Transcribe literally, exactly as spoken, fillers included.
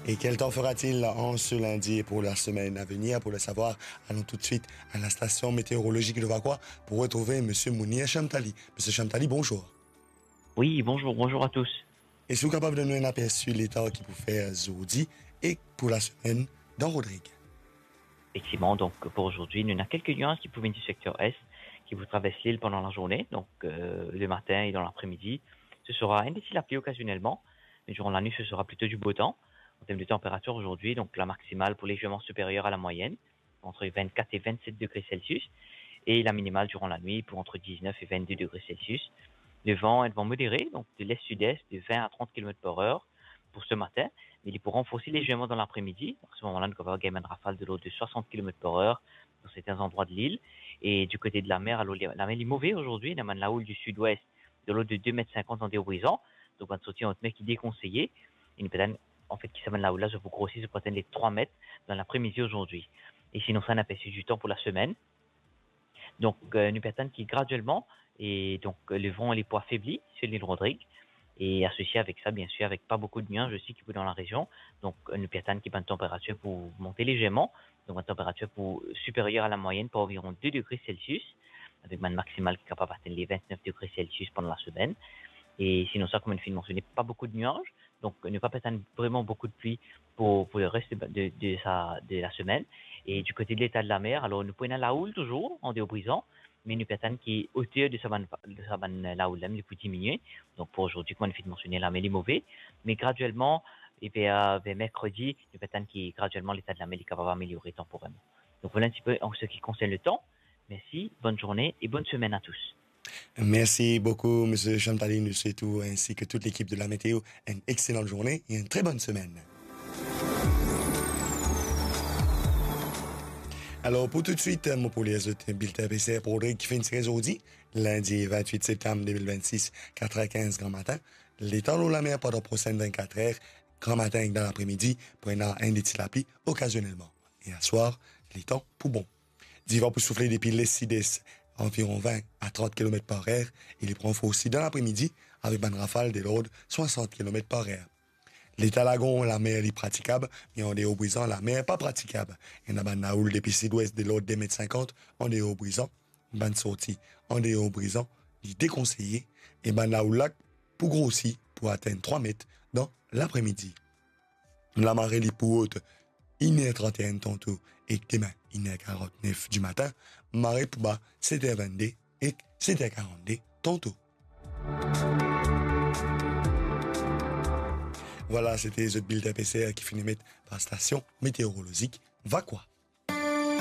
Et quel temps fera-t-il en ce lundi et pour la semaine à venir ? Pour le savoir, allons tout de suite à la station météorologique de Vacoas pour retrouver Monsieur Mounir Chamtali. Monsieur Chamtali, bonjour. Oui, bonjour, bonjour à tous. Eski ou kapav donn nou enn apersi leta ki pou fer zordi e pou lasemenn dan Rodrig? Effectivement, donc pour aujourd'hui, nous avons quelques nuages qui proviennent du secteur est, qui vont traverser l'île pendant la journée. Donc euh, le matin et dans l'après-midi, ce sera un petit lapli occasionnellement, mais durant la nuit, ce sera plutôt du beau temps. En termes de température aujourd'hui, donc la maximale pour légèrement supérieure à la moyenne, entre vingt-quatre et vingt-sept degrés Celsius, et la minimale durant la nuit pour entre dix-neuf et vingt-deux degrés Celsius. Le vent est de vent modéré, donc de l'est-sud-est, de vingt à trente kilomètres par heure pour ce matin, mais il pourra renforcer légèrement dans l'après-midi. À ce moment-là, nous avons également une rafale de l'ordre de soixante kilomètres par heure dans certains endroits de l'île. Et du côté de la mer, alors, la mer est mauvaise aujourd'hui, on a une houle du sud-ouest de l'ordre de deux mètres cinquante en déobrisant, donc on sortir en haute mer qui est déconseillé. Et nous peut-être en fait, ki samainn laoul la, zot pou grosi, zot pou atenn le trwa met dan lapremidi azordi. E sinon sa, nou apersi du temps pour la semaine. Donc euh, nou pe atann ki graduellement, et donc euh, le vent li pou afebli sur l'île Rodrigue. Et associé avec ça, bien sûr, avec pas beaucoup de nuages aussi qui dans la région. Donc euh, nou pe atann ki bann température pou monte légèrement. Donc une température pour supérieure à la moyenne par environ deux degrés Celsius, avec une maximale qui est capable d'atteindre les vingt-neuf degrés Celsius pendant la semaine. Et sinon ça, comme une fin mentionnée, pas beaucoup de nuages. Donc, euh, ne pas attendre vraiment beaucoup de pluie pour, pour le reste de, de, de sa, de la semaine. Et du côté de l'état de la mer, alors, nou pou ena laoul toujours, an deobrizan, me nou pe atann ki oter de sa bann, de sa bann laoul la, li pou diminue. Donc, pour aujourd'hui, comme on vient de mentionner, la mer li move. Mais graduellement, et vers, vers mercredi, nou pe atann ki graduellement l'état de la mer li kapav ameliore tanporerman. Donc, voilà un petit peu en ce qui concerne le temps. Merci, bonne journée et bonne semaine à tous. Merci beaucoup, Monsieur Chamtali. Nous souhaitons, ainsi que toute l'équipe de la météo, une excellente journée et une très bonne semaine. Alors, pour tout de suite, mo pou lir zot bilten APCR pour Rodrig ki finn tire zordi, lundi vingt-huit septembre deux mille vingt-six, quatre heures quinze grand matin. Letan lor lamer pandan prosin vingt-quatre heures, gran matin ek dan lapremidi, pou ena enn de ti lapli okazionelman. E aswar, letan pou bon. Divan pou soufle depi les-sid-es, anviron vingt a trant kilomet par er, e li pou ranforsi dan lapremidi avek bann rafal de lord swasant kilomet par er. Leta lagon, lamer li pratikab, me andeor Brizan, lamer pa pratikab. Ena bann laoul depi sidwes de lord de met sinkant andeor Brizan, bann sorti andeor Brizan li dekonseye, e bann laoul la pou grosi pou atenn trwa met dan lapremidi. Lamare li pou rod inn er trant-e-enn tanto ek demin inn er karant-nef dimatin, mare pou ba set er vennde ek set er karant-de tanto. Vwala, sete zot bilten APCR ki finn met par stasion meteorolozik Vacoas.